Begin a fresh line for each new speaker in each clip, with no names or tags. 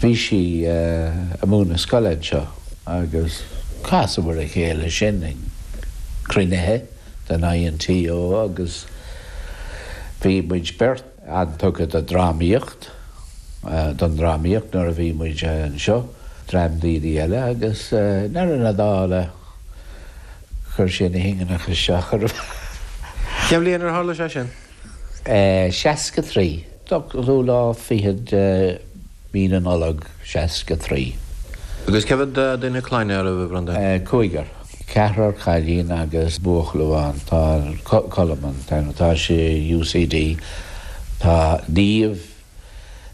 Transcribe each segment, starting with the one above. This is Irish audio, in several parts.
Bhí sí ag múineadh scoile anseo agus chasamar a chéile sin ag cruinnithe den INTO agus bhí muid beirt an-tugtha do drámaíocht, don drámaíocht nuair a bhí muid anseo, dream daoine eile agus i ndeireadh na dála chuir sé na hingeacha isteach orm.
Cén bhliain ar tharla sé sin?
63. Ochtú lá fichead de mhí na Nollag 63.
Agus cé mhéad duine clainne a raibh, a Bhreandáin?
Cúigear. Ceathrar cailín agus buachaill amháin. Tá Colm an t-ainm. Tá sé i UCD. Tá Niamh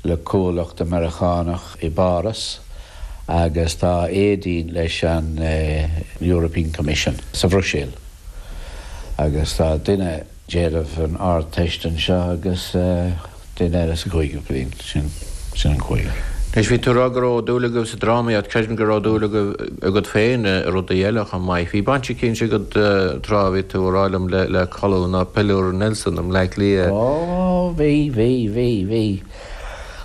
le comhlacht Meiriceánach i bPáras agus tá Aedín leis an European Commission sa Bhruiséil. Agus tá duine. déanamh an Ardteist anseo agus duine eile sa chúigiú bliain. Sin, sin an cúigear.
Anois, bhí tú ag rá go raibh dúil agaibh sa drámaíocht, creidim go raibh dúil agaibh, agat féin i rudaí eile chomh maith. Bhí baint eicínt agat tráth a bhí tú ag rá liom le, le Colún ná Piliúr Nelson i mBleá Cliath.
Ó, bhí, bhí, bhí, bhí.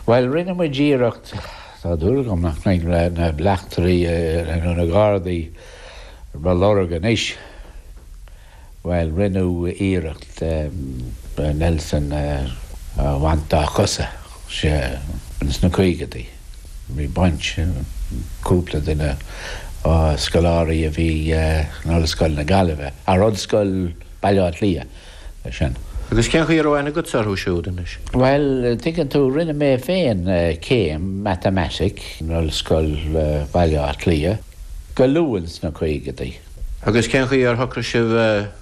Bhuel, rinne muid iarracht, tá dúil agam nach mbeidh na bleachtairí nó na Gardaí ar mo lorg anois. Bhuel, rinneadh iarracht Nelson a bhaint dá chosa, sea, ins na caogaidí. Bhí baint, cúpla duine, scoláirí a bhí in Ollscoil na Gaillimhe, ar Ollscoil Baile Átha Cliath, leis sin.
Agus cén chaoi a raibh aithne agatsa orthu siúd anois?
Bhuel, tuigeann tú, rinne mé féin céim matamaitic in Ollscoil Bhaile Átha Cliath go luath ins na caogaidí.
Agus cén chaoi ar shocraigh sibh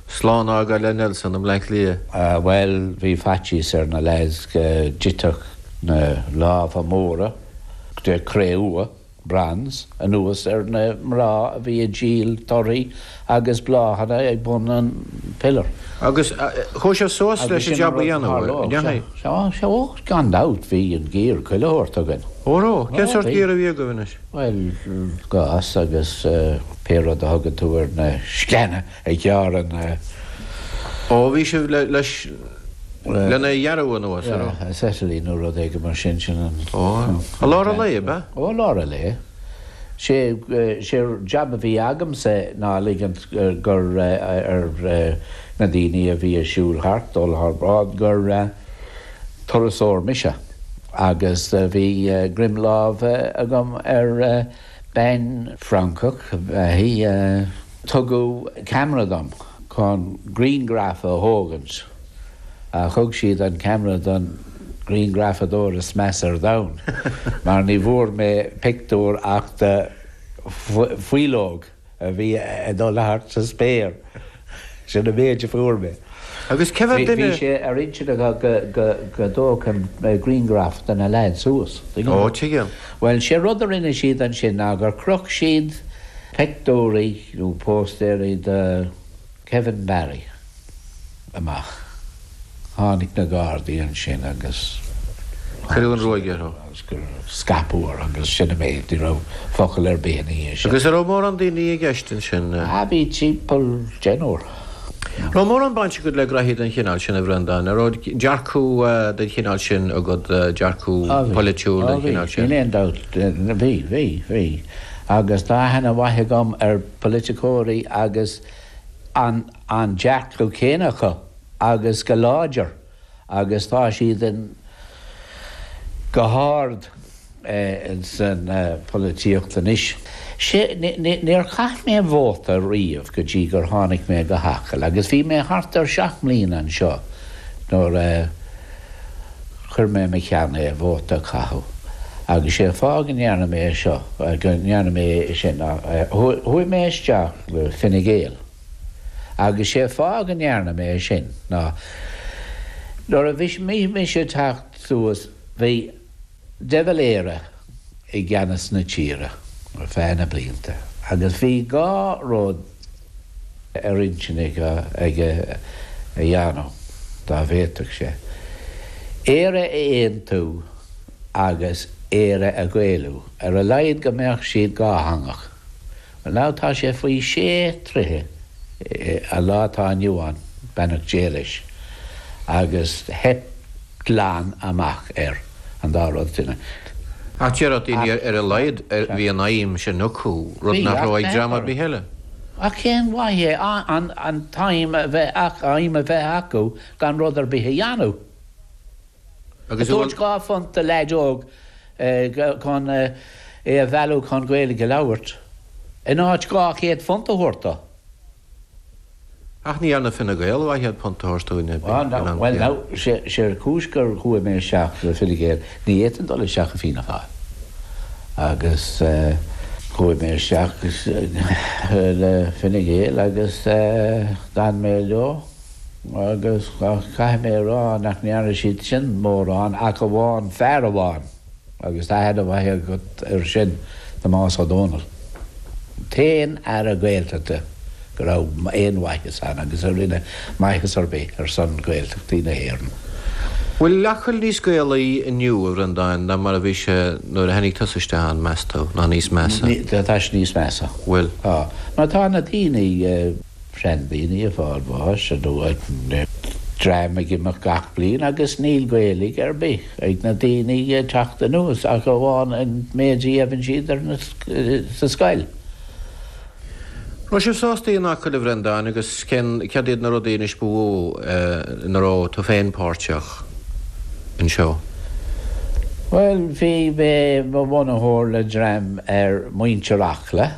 slán a fhágáil le Nelson i mBleá Cliath?
Bhuel, bhí faitíos ar na leaids go dtitfeadh na lámha móra de cré-umha, bronze, anuas ar na mná a bhí ag díol torthaí agus bláthanna ag bun an pillar.
Agus chuaigh sibh suas leis an jab a dhéanamh, an ndeachaigh?
Sea, sea, ó, gan dabht, bhí an gear chuile shórt againn.
Ó raibh? Cén sórt gear a bhí agaibh anois?
Bhuel, gás agus pé rud a thugann tú ar na sceana a ghearrann na.
Ó, bhí sibh leis, lena ghearradh anuas, an raibh?
Acetylene nó rud éigin mar sin, sin an.
Ó, i lár an lae, ab ea?
Ó, i lár an lae. Sé, sé jab a bhí agamsa ná ligint gur ar na daoine a bhí ag siúl thart, dul thar bráid, gur turasóir mise. Agus bhí greim láimhe agam ar bean Francach ab ea í. Tugadh ceamara dom chun grianghraf a thógaint. Thug siad an ceamara don ghrianghrafadóir is measa ar domhan mar ní bhfuair mé pictiúr ach de faoileog. a bhí ag dul thart sa spéir. Sin an méid a fuair mé.
Agus cé mhéad duine.
Bhí sé ar intinn acu go dtógfainn grianghraf de na leaids thuas.
Ó, tuigim.
Bhuel, sé rud a rinne siad ansin ná gur chroch siad pictiúirí nó póstaeirí de Kevin Barry. amach. Tháinig na Gardaí ansin agus.
Cuireadh an ruaig orthu.
Agus scaipeadh orthu agus sin an méid, ní raibh focal ar bith ina dhiaidh sin.
Agus an raibh mórán daoine i gceist ansin?
Ah bhí timpeall deichniúr.
Raibh mórán baint agat le graithí den chineál sin, a Bhreandáin? An raibh dearcadh den chineál sin agat, dearcadh polaitiúil den chineál sin?
Níl aon dabht, bhí, bhí, bhí. Agus tá aithne mhaith agam ar pholaiticeoirí agus an an dearcadh céanna acu agus go láidir agus tá siad in go hard san pholaitíocht anois. Sé, níor chaith mé vóta riamh go dtí gur tháinig mé go hAcaill agus bhí mé thart ar sheacht mbliana anseo nuair a chuir mé mo cheann é vóta a chaitheamh agus sé fáth go ndearna mé seo, go ndearna mé sin ná chuaigh mé isteach le Fine Gael. Agus sé fáth go ndearna mé é sin ná nuair a bhí mise ag teacht suas bhí De Valera i gceannas na tíre ar feadh na blianta agus bhí dhá rud ar intinn aige a dhéanamh dá bhféadfadh sé, Éire a aontú agus Éire a Ghaelú, ar a laghad go mbeadh siad dhátheangach. Bhuel now tá sé faoi shé troithe an lá atá inniu ann, beannacht Dé leis, agus theip glan amach air, an dá rud sin.
Ach déarfadh daoine ar a laghad bhí an aidhm sin acu, rud nach raibh ag dream ar bith eile.
Ach cén mhaith é an t-aidhm a bheith aidhm a bheith acu gan rud ar bith a dhéanamh? Ag tabhairt £2 do leaid óg chun é a mhealladh chun Gaeilge a labhairt, in áit £200 a thabhairt dó.
Ach ní dhearna Fine Gael £200 a thabhairt dúinn in am
Bhuel now, sé an chúis gur chuaigh mé isteach le Fine Gael, ní fhéadfainn dul isteach i Fianna Fáil. Agus chuaigh mé isteach le Fine Gael agus d'fhan mé leo agus caithfidh mé a rá nach ndearna siad sin mórán ach amháin fear amháin. Agus tá aithne mhaith agat air sin, Tomás Ó Dónaill. T-aon Aire Gaeltachta go raibh aon mhaitheas ann agus a rinne maitheas ar bith ar son Gaeltachtaí na hÉireann.
Bhfuil Acaill níos Gaelaí inniu, a Bhreandáin, ná mar a bhí sé nuair a tháinig tusa isteach ann, meas tú, ná níos measa?
Tá sé níos measa.
Bhfuil?
Tá. Mar tá na daoine. seandaoine ag fáil bháis nó dream ag imeacht gach bliain agus níl Gaeilge ar bith ag na daoine ag teacht anuas ach amháin an méid a gheibheann siad ar na sa scoil.
Raibh sibh sásta in Acaill, a Bhreandáin, agus cén, céard iad na rudaí anois ba mhó ina raibh tú féin páirteach anseo?
Bhuel, bhí mé mo bhunaitheoir le dream ar Muintir Acla.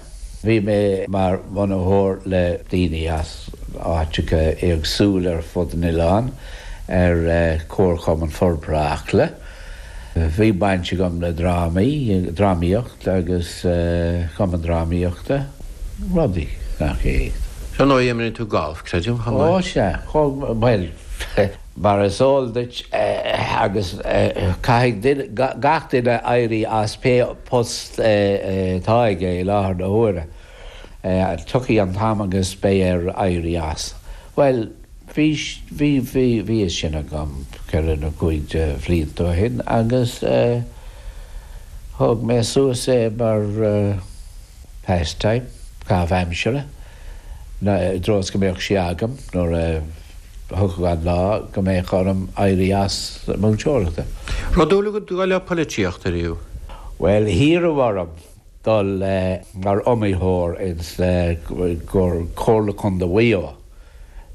Bhí mé mar bhunaitheoir le daoine as áiteacha éagsúla ar fud an oileáin ar Chomharchumann Forbartha Acla. Bhí baint agam le drámaí, drámaíocht agus cumann drámaíochta, rudaí nach
é. Ar ndóigh, imríonn tú galf, creidim, chomh maith?
Ó, sea, bhuel, mar is eol duit agus caithfidh gach duine éirí as pé post atá aige i láthair na huaire. Tiocfaidh an t-am agus beidh air éirí as. Bhuel, bhí, bhí, bhí, bhí a fhios sin agam ceithre nó cúig de bhlianta ó shin agus thóg mé suas é mar pastime, caitheamh aimsire, i dtreo is go mbeadh sé agam nuair a thiocfadh an lá go mbeadh orm éirí as múinteoireachta.
Raibh dúil agat dul le polaitíocht ariamh?
Bhuel, hiarradh orm dul mar iomaitheoir ins Comhairle Contae Mhaigh Eo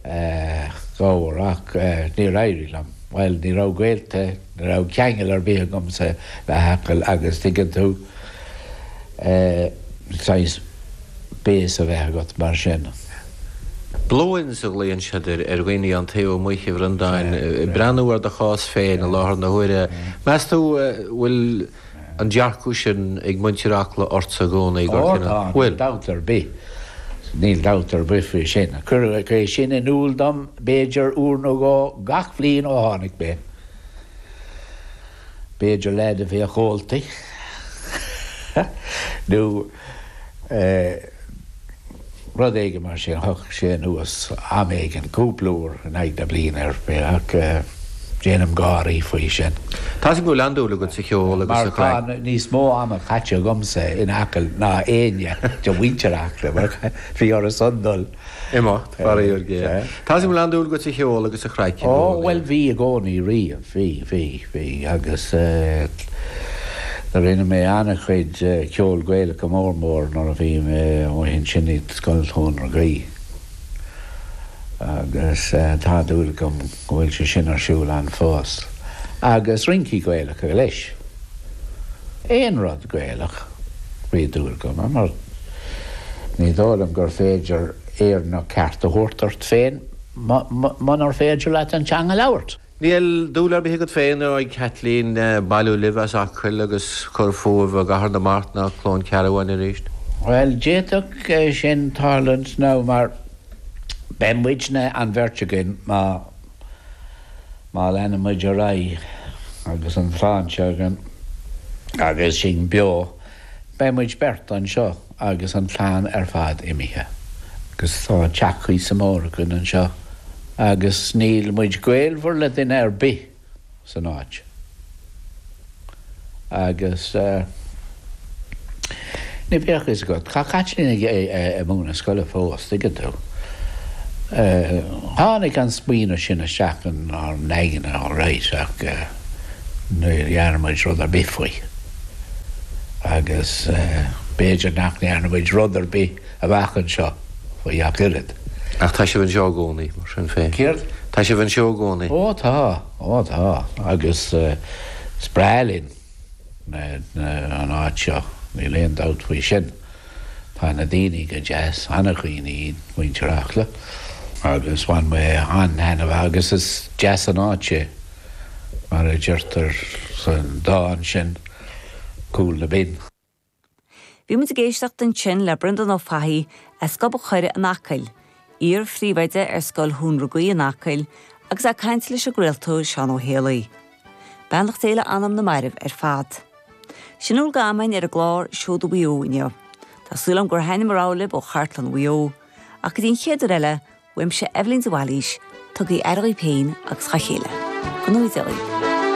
dhá uair ach níor éirigh liom. Bhuel, ní raibh gaolta, ní raibh ceangal ar bith agamsa le hAcaill agus tuigeann tú, saghas base a bheith agat mar sin.
Blow-ins a ghlaonn siad ar dhaoine ón taobh amuigh, a Bhreandáin. Ag breathnú ar do chás féin i láthair na huaire, meas tú bhfuil an dearcadh sin ag muintir Acla ortsa i gcónaí
gur Ó tá, níl dabht ar bith. Níl dabht ar bith faoi sin. Cuireadh é sin in iúl dom b'fhéidir uair nó dhó gach bhliain ó tháinig mé. B'fhéidir leaid a bheadh ólta nó rud éigin mar sin, thiocfadh sé anuas am éigin, cúpla uair in aghaidh na bliana ar bith ach déanaim gáirí faoi sin.
Tá 'fhios agam go bhfuil an-dúil agat sa cheol agus sa
chraic. Mar tá níos mó ama caite agamsa in Acaill ná éinne de mhuintir Acla mar bhí orthu-san dul.
Imeacht, faraor géar. Tá 'fhios agam go bhfuil an-dúil agat sa cheol agus sa chraic
i gcónaí. Ó, bhuel, bhí i gcónaí riamh, bhí, bhí, bhí agus eh rinne mé an-chuid ceol Gaelach go mór mór nuair a bhí mé amuigh ansin i Scoil Thóin na Gaoithe agus tá dúil agam go bhfuil sé sin ar siúl ann fós. Agus rincí Gaelacha leis. Aon rud Gaelach, bhí dúil agam ann mar ní dóigh liom gur féidir Éireannach ceart a thabhairt ort féin munar féidir leat an teanga a labhairt.
Níl dúil ar bith agat féin nó ag Caitlín bailiú libh as Acaill agus cur fúibh i gCathair na Mart ná Cluain Cearbháin arís?
Bhuel, d'fhéadfadh sin tarlúint now mar beidh muidne, an bheirt againn, má Má leanann muid ar aghaidh agus an tsláinte againn agus sinn beo, beidh muid beirt anseo agus an chlann ar fad imithe. Agus tá teach cuíosa mór againn anseo agus níl muid gaolmhar le duine ar bith san áit. Agus ní bheadh a fhios agat, tá Caitlín ag múineadh scoile fós, tuigeann tú. Tháinig an smaoineamh sin isteach inár n-aigne alright ach ní dhearna muid rud ar bith faoi. Agus b'fhéidir nach ndearna muid rud ar bith amach anseo faoi ach oiread.
Ach tá sibh anseo i gcónaí, mar sin féin.
Céard?
Tá sibh anseo i gcónaí.
Ó tá, ó tá. Agus is breá linn an áit seo, níl aon dabht faoi sin. Tá na daoine go deas, an-dhaoine iad muintir Acla agus bhain mé an-taitneamh agus is deas an áit é, mar a deirtear sa dán sin, Cúl na Binne.
Bhí muid ag éisteacht ansin le Breandán Ó Fathaigh as Gob an Choire in Acaill, iar-phríomhoide ar Scoil Thóin Rugaí in Acaill agus é ag caint leis an gcraoltóir Seán Ó Héalaí. Beannacht Dé le anam na mairbh ar fad. Sin a bhfuil d'am againn ar an gclár Seoda Mhaigh Eo inniu. Tá súil agam gur thaithin mar a rabh libh ó chartlann Mhaigh Eo, ach go dtí an chéad uair eile, uaimse Eibhlín de Bhailís, tugaigí aire dhaoibh féin agus dhá chéile. Go ngnóthaí Dia dhaoibh.